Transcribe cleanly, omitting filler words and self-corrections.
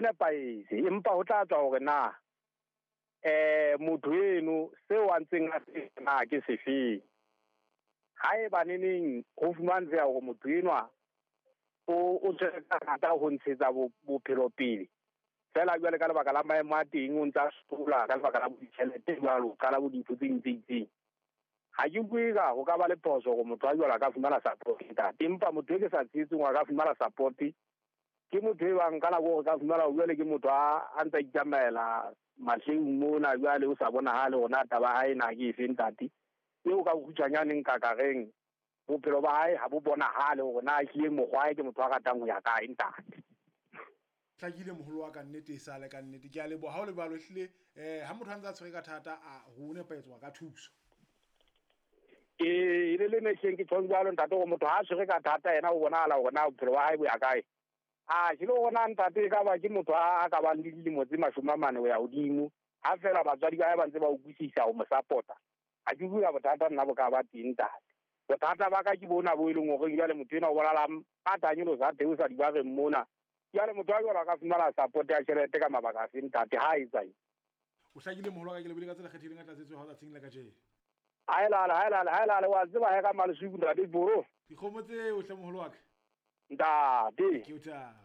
nepahetse, empa ho tla tswa hore na motho eno seo a ntseng a se na ke sefeng. Haeba neneng ho fumantsheha hore motho enwa o tshwere ka thata ho ntshetsa bophelo pele, fela jwale ka lebaka la maemo a teng o ntsa sola ka lebaka la ditjhelete jwalo, qala bo dintho tse ding tse itseng. Ha ke bue ka ho ka ba le phoso hore motho a jwalo a ka fumana support ntate, empa motho e ke sa tshehetseng a ka fumana support ke motho e bang ka nako hore ka fumana jwale ke motho a ntsa itsamaela mahleng mona jwale o sa bonahale hore na taba ya hae na ke efe ntate. Eo ka bokgutshwanyane nka ka reng bophelo ba hae ha bo bonahale hore na ehlile mokgwa hae ke motho a ratang ho ya kae ntate. Hlakile moholo wa ka, nnete e sale ka nnete. Ke a leboha ha o le jwalo, ehlile ha motho a ntse a tshwere ka thata a ho nepahetse ka thuso. Ee, le le mehleng ke tjhong jwalo ntate, hore motho ha a tshwere ka thata yena o bonahala hore na bophelo ba hae bo ya kae. A ke le hore na ntate e ka ba ke motho a ka bang le dilemo tse 40 ho ya hodimo, ha fela batswadi ba hae ba ntse ba utlwisisa ho mo support-a. Ha ke bua bothata nna bo ka ba teng ntate. Bothata ba ka ke bona bo e leng hore jwale motho enwa o bonahala a tanyolosa a theosa dibareng mona. Jwale motho a jwalo a ka fumana support ya tjhelete ka mabaka a fe ntate, ha etsa eng? O hlakile moholo wa ka, ke lebohile ka tsela kgethehileng ka tlatsetso ya hao tsatsing la kajeno. Haelale, haelale, haelale, wa tseba he ka Maleswiki ntate Boro. Dikgomo tseo hle moholo wa ka. Ntate. Ke o thaba.